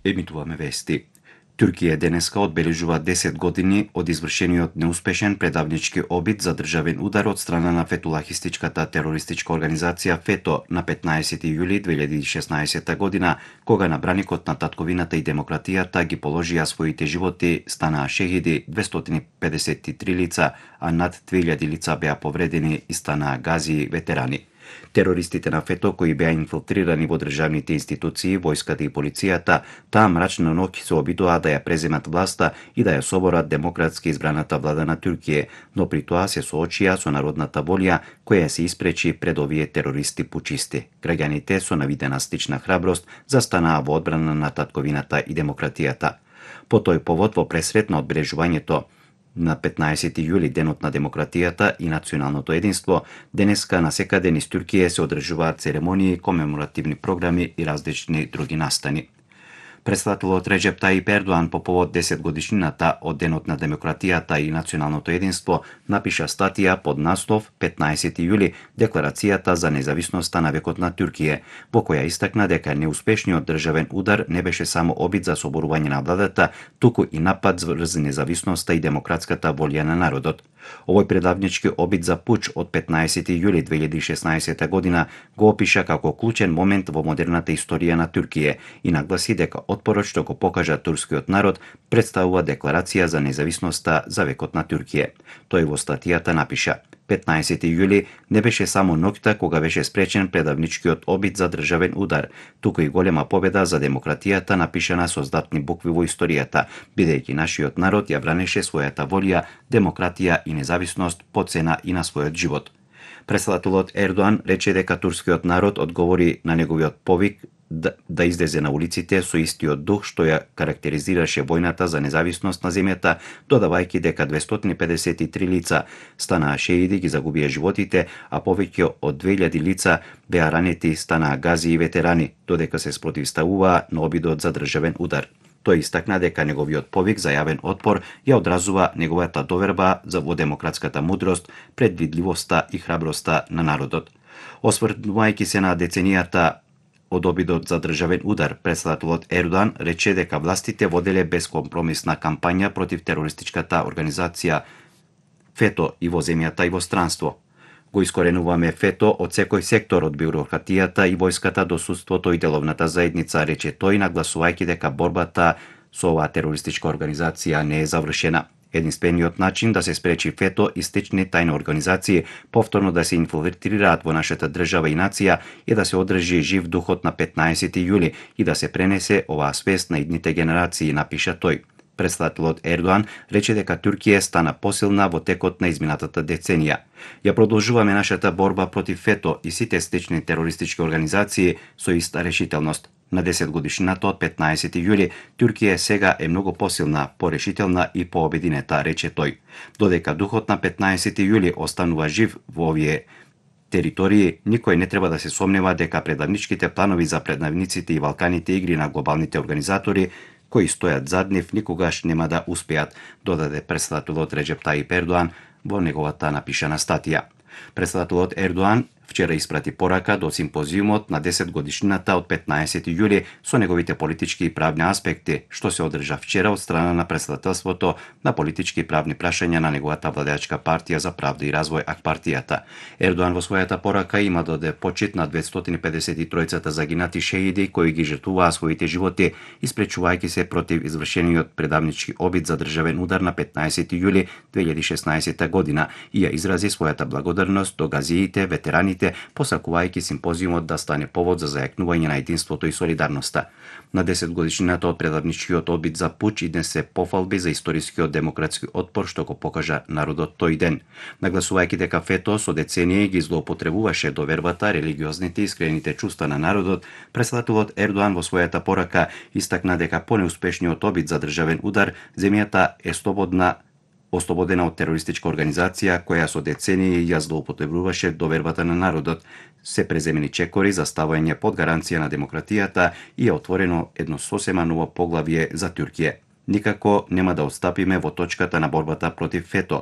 Емитуваме вести. Туркија денеска одбележува 10 години од извршениот неуспешен предавнички обид за државен удар од страна на фетулахистичката терористичка организација ФЕТО на 15 јули 2016 година, кога на браникот на татковината и демократијата ги положија своите животи, станаа шехиди 253 лица, а над 2000 лица беа повредени и станаа гази ветерани. Терористите на ФЕТО, кои беа инфилтрирани во државните институции, војската и полицијата, таа мрачна ноќ се обидоа да ја преземат власта и да ја соборат демократски избраната влада на Туркија, но при тоа се соочија со народната волја која се испречи пред овие терористи пучисти. Граѓаните со навидена стична храброст застанаа во одбрана на татковината и демократијата. По тој повод во пресрет на одбележувањето на 15 јули, денот на демократијата и националното единство, денеска насекаде низ Туркија се одржуваат церемонии, комеморативни програми и различни други настани. Претседателот Реджеп Таип Ердоан по повод 10 годишнината од денот на демократијата и националното единство напиша статија под наслов 15 јули Декларацијата за независноста на векот на Туркија, во која истакна дека неуспешниот државен удар не беше само обид за соборување на владата, туку и напад врз независноста и демократската волја на народот. Овој предавнички обид за пуч од 15 јули 2016 година го опиша како клучен момент во модерната историја на Туркија и нагласи дека отпорот што го покажа турскиот народ представува декларација за независноста за векот на Туркија. Тој во статијата напиша: 15 јули не беше само ноќта кога беше спречен предавничкиот обид за државен удар, туку и голема победа за демократијата напишана со златни букви во историјата, бидејќи нашиот народ ја бранеше својата волја, демократија и независност по цена и на својот живот. Претседателот Ердоан рече дека турскиот народ одговори на неговиот повик да излезе на улиците со истиот дух што ја карактеризираше војната за независност на земјата, додавајќи дека 253 лица станаа шеиди, ги загубија животите, а повеќе од 2000 лица беа ранети, станаа гази и ветерани, додека се спротивставуваа на обидот за државен удар. Тој истакна дека неговиот повик за јавен отпор ја одразува неговата доверба за во демократската мудрост, предвидливоста и храброста на народот. Осврнувајќи се на деценијата од обидот за државен удар, претседателот Ердоан рече дека властите воделе безкомпромисна кампања против терористичката организација ФЕТО и во земјата и во странство. Го искоренуваме ФЕТО од секој сектор, од бюрократијата и војската до судството и деловната заедница, рече тој, нагласувајќи дека борбата со оваа терористичка организација не е завршена. Единствениот начин да се спречи ФЕТО и слични тајни организации повторно да се инфилтрираат во нашата држава и нација е да се одржи жив духот на 15 јули и да се пренесе оваа свест на идните генерации, напиша тој. Претседателот Ердоан рече дека Туркија стана посилна во текот на изминатата деценија. Ја продолжуваме нашата борба против ФЕТО и сите слични терористички организации со иста решителност. На 10 годишнината од 15 јули, Туркија сега е многу посилна, порешителна и пообединета, рече тој. Додека духот на 15 јули останува жив во овие територии, никој не треба да се сомнева дека предавничките планови за предавниците и Балканите игри на глобалните организатори кои стојат зад нив никогаш нема да успеат, додаде претседателот Реджеп Таип Ердоан во неговата напишана статија. Претседателот Ердоан вчера испрати порака до симпозиумот на 10 годишнината од 15 јули со неговите политички и правни аспекти, што се одржа вчера од страна на претседателството на политички и правни прашања на неговата владеачка партија за правда и развој ак-партијата. Ердоан во својата порака има да оде почит на 253 загинати шеиди кои ги жртвуваа своите животи, испречувајќи се против извршениот предавнички обид за државен удар на 15 јули 2016 година и ја изрази својата благодарност до газиите, ветерани, посакувајќи симпозиумот да стане повод за зајакнување на единството и солидарноста. На 10 годишнината од предавничкиот обид за пуч иднесе пофалби за историскиот демократски отпор што го покажа народот тој ден. Нагласувајќи дека ФЕТО со децении ги злоупотребуваше довербата, религиозните и искрените чувства на народот, претседателот Ердоан во својата порака истакна дека по неуспешниот обид за државен удар, земјата е ослободена од терористичка организација која со децении ја злоупотребуваше довербата на народот, се преземени чекори за ставање под гаранција на демократијата и е отворено едно сосема ново поглавје за Туркија. Никако нема да отстапиме во точката на борбата против ФЕТО,